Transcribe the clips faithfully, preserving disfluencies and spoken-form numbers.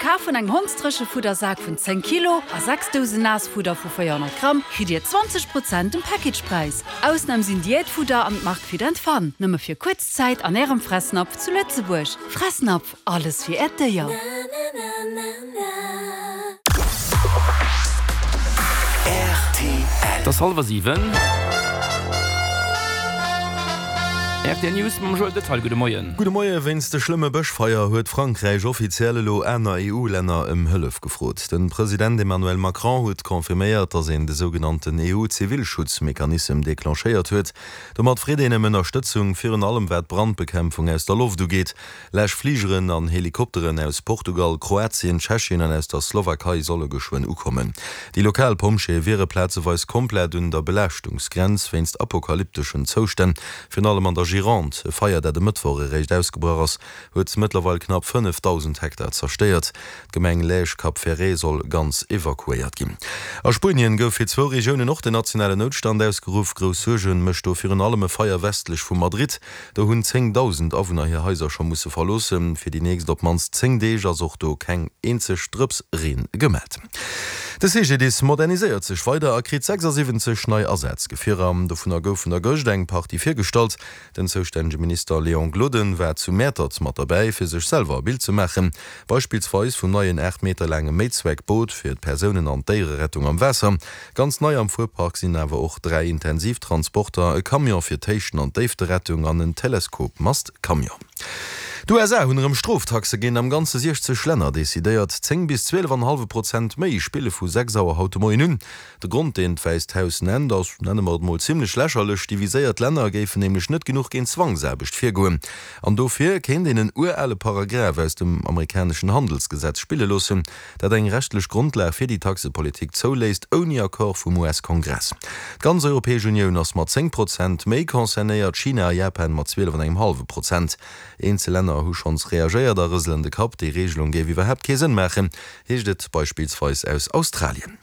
Kaf vun engem Hondsdréchefuddersak vun zéng Kilo a sechs Dousen Naassfudder vu véierhonnert Gramm kritt Dir zwanzeg Prozent um Packagepräis. Ausnam sinn Diätfudder an d'Mark Fit and Fun. Nëmme fir kuerz Zäit an Ärem Fressnapf zu Lëtzebuerg. Fressnapf, alles fir Äert Déier. Et ass hallwer siwen. Rtl News mam Joël Detaille. Gudde Moien. Gudde Moie. Wéinst de schlëmme Bëschfeier huet Frankräich offiziell elo aner E U-Länner ëm Hëllef gefrot. De President Emmanuel Macron huet confirméiert, datt een de sougenannten E U-Zivilschutzmechanissem declenchéiert huet. Domat freet een ëm Ënnerstëtzung, virun allem wat d'Brandbekämpfung aus der Loft ugeet. Läschfligeren an Helikopteren aus Portugal, Kroatien, Tschechien an aus der Slowakei solle geschwënn ukommen. Déi lokal Pompjeeë wiere plazeweis komplett un der Belaaschtungsgrenz wéinst apokalypteschen Zoustänn, virun allem an der Gironde. E Feier, dat e Mëttwoch eréischt ausgebrach ass, huet mëttlerweil knapp fënnefdausend Hektar zerstéiert. D'Gemeng Lège-Cap Ferret soll ganz evakuéiert ginn. A Spuenien gouf fir zwou Regiounen och den nationalen Noutstand ausgeruff. Grouss Suerge mécht do virun allem e Feier westlech vu Madrid. Do hunn zéngdausend Awunner hir Haiser scho musse verloossen. Fir déi nächst op d'mannst zéng Deeg ass och do keng eenzeg Drëps Reen gemellt. De C G D I S moderniséiert sech weider a kritt sechsasiwwenzeg nei Asazgefierer. Dovunner goufen der gëscht eng Partie virgestallt. Den zoustännege Minister Léon Gloden war zu Mäertert mat derbäi, fir sech selwer e Bild ze maachen. Beispillsweis vum neien aacht Meter laange Méizweckboot fir d'Persounen an d'Déiererettung am Waasser. Ganz nei am Fuerpark sinn awer och dräi Intensivtransporter, e Camion fir d'Héichten an d'Déifterettung an en Teleskopmast-Camion. D'U S A hunn erëm Stroftaxe géint am Ganze siechzeg Länner decidéiert. Zéng bis zwielef an e hallwe Prozent méi spille vu sechs Auer haut de Moien un. De Grond, deen d'Wäisst Haus nennt, ass, nenne mer et mol, zimmlech lächerlech. Déi viséiert Länner géifen nämlech net genuch géint Zwangsaarbecht virgoen. An dofir kéint een en urale Paragraph aus dem amerikaneschen Handelsgesetz spille loossen, dat eng rechtlech Grondlag fir déi Taxepolitik zouléisst, ouni Accord vum U S-Kongress. D'ganz Europäesch Unioun ass mat zéng Prozent méi concernéiert, China a Japan mat zwielef an engem hallwe Prozent. Eenzel Länner hu schonns reagéiert a rëselen de Kapp. Déi Reegelung géif iwwerhaapt kee Sënn maachen, heescht et beispillsweis aus Australien.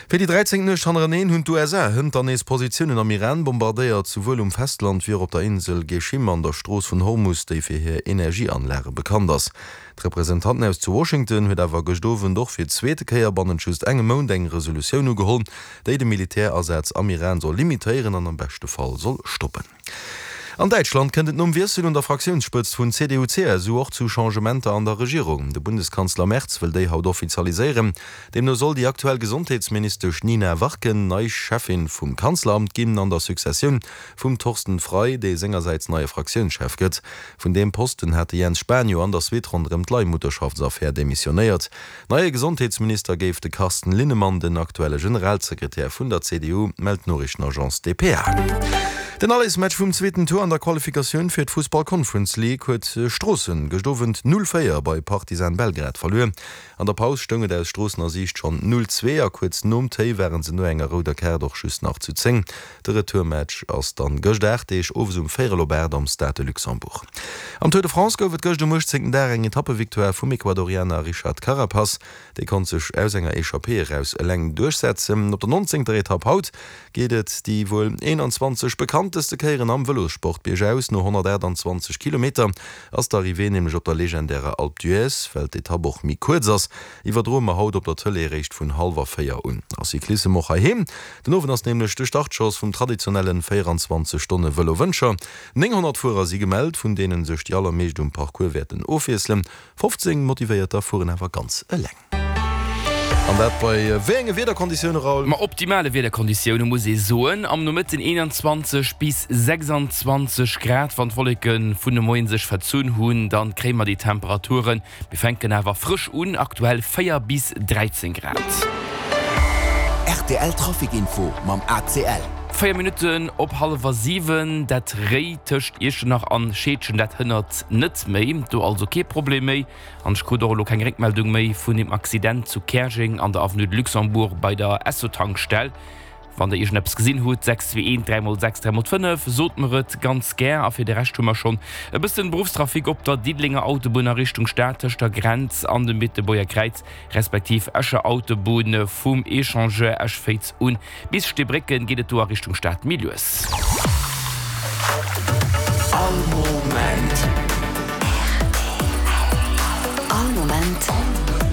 Fir déi dräizéngt Nuecht hannereneen hunn d'U S A hënt dann nees Positiounen am Iran bombardéiert, souwuel um Festland wéi och op der Insel Geschim an der Strooss vun Hormus, déi fir hir Energieanlage bekannt ass. D'Representantenhaus zu Washington huet awer gëscht Owend och fir d'zweete Kéier bannent just engem Mount eng Resolutioun ugeholl, déi de Militärasaz am Iran soll limitéieren an am beschte Fall soll stoppen. An Däitschland kënnt et nom Wiessel un der Fraktiounsspëtzt vun C D U C S U och zu Changementer an der Regierung. De Bundeskanzler Merz wëll déi haut offizialiséieren. Deemno soll déi aktuell Gesondheetsministesch Nina Warken nei Cheffin vum Kanzleramt ginn, an der Successioun vum Thorsten Frei, dee sengersäits neie Fraktiounschef gëtt. Vun deem Posten hat de Jens Spahn jo an der Suite ronderëm d'Leihmutterschaftsaffär demissionéiert. Neie Gesondheetsminister géif de Carsten Linnemann, den aktuelle Generalsekretär vun der C D U, mellt d'Noriichtenagence D P A. Den Allersmatch vum zweeten Tour an der Qualifikatioun fir d'Fussball Conference League huet Stroossen gëscht Owend null véier bei Partizan Belgrad verluer. An der Paus stoung et aus Stroossener Siicht schonn null zwee a kuerz nom Téi ware se no enger rouder Kaart och just nach zu zéng. De Retourmatch ass dann gëscht aacht Deeg owes um véierel op aacht am Stade de Luxembourg. Am Tour de France gouf et gëscht um uechtzéngten Dag eng Etappevictoire vum Ecuadorianer Richard Carapaz. Dee konnt sech aus enger Echappée eraus eleng duerchsetzen. Op der nonzéngter Etapp haut geet et déi wuel eenanzwanzeg bekannteste Kéieren am Vëlossport biergaus. No honnertaachtanzwanzeg Kilometer ass d'Arrivée nämlech op der legendärer Alpe d'Huez. Well d'Etapp och méi kuerz ass, iwwerdroe mer haut op der Tëlee eréischt vun hallwer véier un. A Cyclissem och heiheem, Den Owend ass nämlech de Startschoss vum traditionelle véieranzwanzeg Stonne Vëlo Wëncher. Nénghonnert Fuerer si gemellt, vun deene sech déi allermeescht um Parcours wäerten ofwiesselen. Fofzéng Motivéierter fueren awer ganz eleng. An dat bei wéi enge Wiederkonditioune, Raoul? Ma optimale Wiederkonditioune muss ee soen. Am Nomëtten eenanzwanzeg bis sechsanzwanzeg Grad. Wann d'Wolleke vun de Moien sech verzunn hunn, dann kréie mer déi Temperaturen. Mir fänken awer frësch un, aktuell véier bis dräizéng Grad. R T L Trafic Info mam A C L. Véier Minutten op hallwer siwen, dat Réi tëscht Iechternach an Scheedgen, dat hënnert net méi, do also kee Problem méi. An ech krut och elo keng Réckmeldung méi vun dem Accident zu Käerjeng an der Avenue de Luxembourg bei der Esso-Tankstell. Wann der iergendeppes gesinn hutt, sechs zwee eent dräi mol sechs dräi mol fënnef, sot mer et ganz gär. A fir de Rescht hu mer schonn e bëssen Beruffstrafic op der Diddelenger Autobunn a Richtung Stad tëscht der Grenz an dem Beetebuerger Kräiz, respektiv Escher Autobunn vum Echangeur Esch-Féiz un bis Steebrécken geet et do a Richtung Stad méi lues. All Moment.